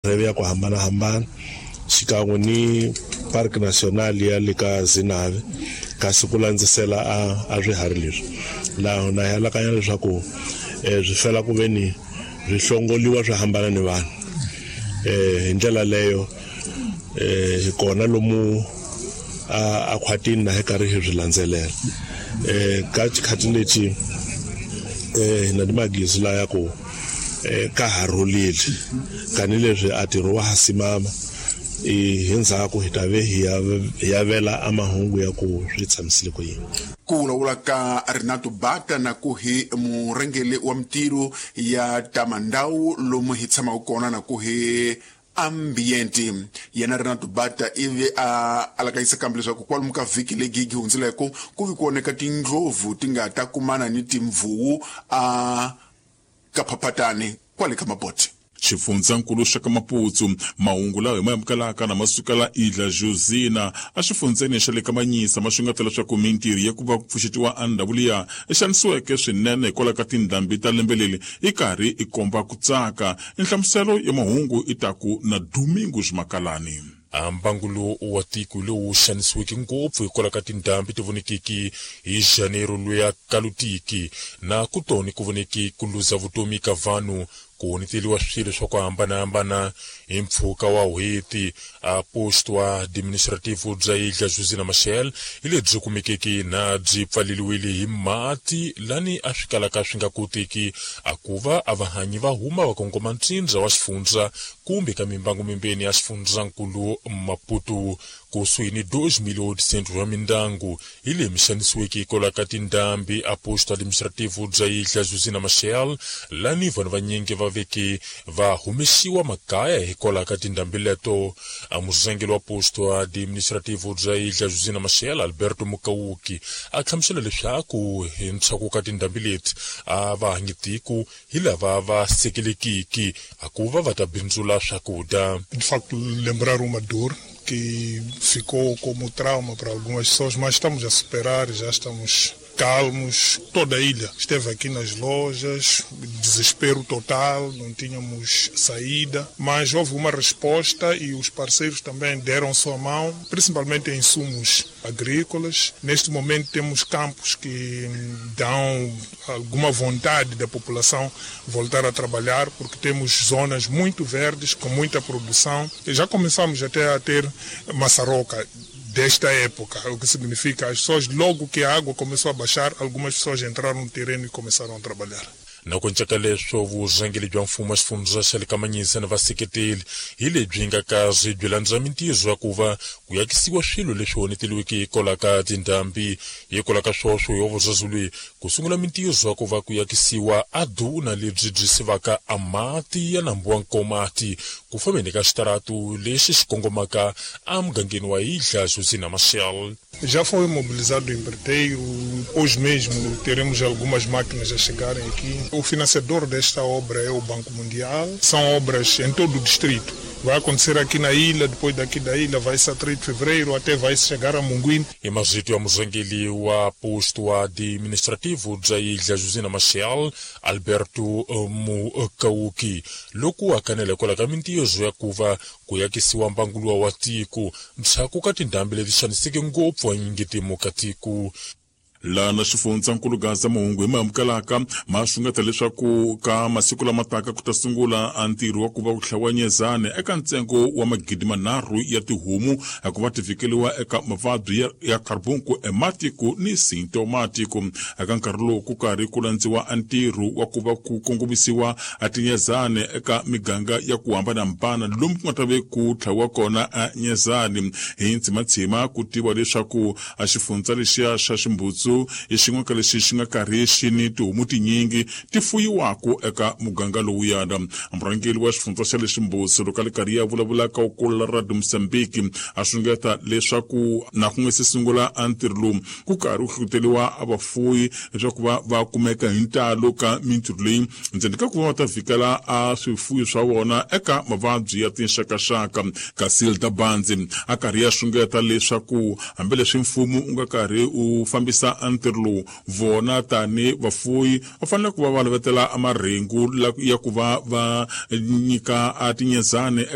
Madirive ya ku hambanahambana xikan'we ni Park National ya le ka Zinave, kasi ku landzisela a swiharhi leswi laha na hi alakanya leswaku swi fela ku ve ni swi hlongoliwa swi hambana ni vanhu. Hi ndlela leyo hi kona lomu a khwatini na hi karhi hi swi landzelela. Ka xikhathi lexi hi na ni magezi laya ku ka ha rhulile, tanihileswi a ntirho wa ha simama, hi ndzhaku hi ta ve hi ya vela a mahungu ya ku swi tshamisile ku yini. Ku vulavula ka Renato Bata na ku hi murhangeri wa mintirho ya ta mandhawu lomu hi tshamaka kona na ku hi ambiente. Yena Renato Bata ivi a alakanyisa kambe leswaku kwalomu ka vhiki leyi gi hundzileko ku vi ku oneka tindlopfu ti nga ta kumana ni timvuwu a ka phaphatani kwale ka Mabote. Xifundzankulu xa ka Maputsu, mahungu lawa hi ma amukelaka na ma sukela Idla Josina exifundzeni xa le ka Manyisa, ma xungeta leswaku mintirho ya ku va ku pfuxetiwa a ndhawu liya i xanisiweke swinene hikwalaho ka tindhambi ta lembe leri i karhi i komba ku tsaka. Nhlamuselo ya mahungu i ta ku na Domingos Makalani. Mbangulo wa tiko lowu xanisiweke ngopfu hikwalaho ka tindhambi ti vonekiki hi Janeiro luya kalutiki na ku toni ku voneki ku luza vutomi ka vanhu, ku honeteliwa swilo swa ku hambanahambana hi mpfhuka wa n'hweti. A posto administrativo bya Ilha Josina Machel hi lebyi kumekeke na byi pfaleliwile hi mati lani a swi kalaka swi nga koteki a ku va a vahanyi va huma va kongoma ntsindza wa xifundza kumbe ka mimbangu mimbeni ya xifundzankulu Maputo. Kusuhi ni 2.800 wa mindyangu hi leyi mi xanisiweke hikwalaho ka tindhambi a posto administrativo bya Ilha Josina Machel, lani vanhu vanyingi va veke va humesiwa makaya hikwalaho ka tindhambi leto. A murhangeri wa posto administrativo bya Ilha Josina Machel, Alberto Mukauki, a hlamusela leswaku hi ntshaku ka tindhambi leti a va hanyi tiko hi lava va sekelekiki a ku va va ta bindzula swakudya. De facto, lembrar uma dor que ficou como trauma para algumas pessoas, mas estamos a superar, já estamos calmos. Toda a ilha esteve aqui nas lojas, desespero total, não tínhamos saída, mas houve uma resposta e os parceiros também deram sua mão, principalmente em insumos agrícolas. Neste momento temos campos que dão alguma vontade da população voltar a trabalhar, porque temos zonas muito verdes, com muita produção. E já começamos até a ter maçaroca desta época, o que significa as pessoas, logo que a água começou a baixar, algumas pessoas entraram no terreno e começaram a trabalhar. Na ku cinca leswo vurhangeri bya mfumo wa xifundza xa le ka Manyisa na vaseketeli hi lebyi nga kazi byi landza mintirho ya ku va ku yakisiwa swilo leswi honeteliweke hikwalaho ka tindhambi. Hikwalaho ka swoswo hi vuzazulu ku sungula mintirho ya ku va ku yakisiwa a duna lebyi byi sivaka a mati ya nambu wa Nkomati ku fambeni ka xitaratu lexi xi kongomaka emugangeni wa Ilha Josina Machel. Já foi mobilizado o empreiteiro, hoje mesmo teremos algumas máquinas a chegarem aqui. O financiador desta obra é o Banco Mundial. São obras em todo o distrito. Vai acontecer aqui na ilha, depois daqui da ilha vai-se a 3 de fevereiro, até vai chegar a Munguíne. Hi mazito ya murhangeri wa posto administrativo bya Ilha Josina Machel, Alberto Mukauki, loko a kanela hikwalaho ka mintirho ya ku va ku yakisiwa mbangulo wa tiko ndzhaku ka tindhambi leti xaniseke ngopfu anyingitimo ka tiko. Lana xifundzankulu Gaza mahungu hi ma amukelaka ma xungeta leswaku ka masiku lama taka ku ta sungula a ntirho wa ku va ku hlawa nyezane eka ntsengo wa 3,000 ya tihomu ku va ti vhikeliwa eka mavabyi ya carbunku ematiko ni sintomatiko. Eka nkarhi lowu ku karhi ku landziwa a ntirho wa ku va ku kongomisiwa a tinyezane eka miganga ya ku hambanahambana lomu ku nga ta ve ku tlhawiwa kona a nyezane. Hi ntsimatshima ku tiva leswaku a xifundza lexiya xa Ximbutsu i xin'we ka lexi xi nga karhi xi ni tihomu tinyingi ti fuyiwaka eka muganga lowuyana. Murhangeri wa xifundza xa le Ximbutsu loko a le karhi ya vulavula ka ukulu la Radio Mozambique a xungeta leswaku na ku nga se sungula a ntirho lowu ku karhi ku hlohloteriwa a vafuyi leswaku va kumeka hi ntalo ka mintirho leyi ndzeni ka ku va va ta vhikela a swifuyi swa vona eka mavabyi ya tinxakaxaka. Kasi Hilda Banzi a karhi ya xungeta leswaku hambileswi mfumo wu nga karhi wu fambisa ntirho lowu, vona tani vafuyi va fanele ku va va lavetela marhengu ya ku va va nyika a tinyezane.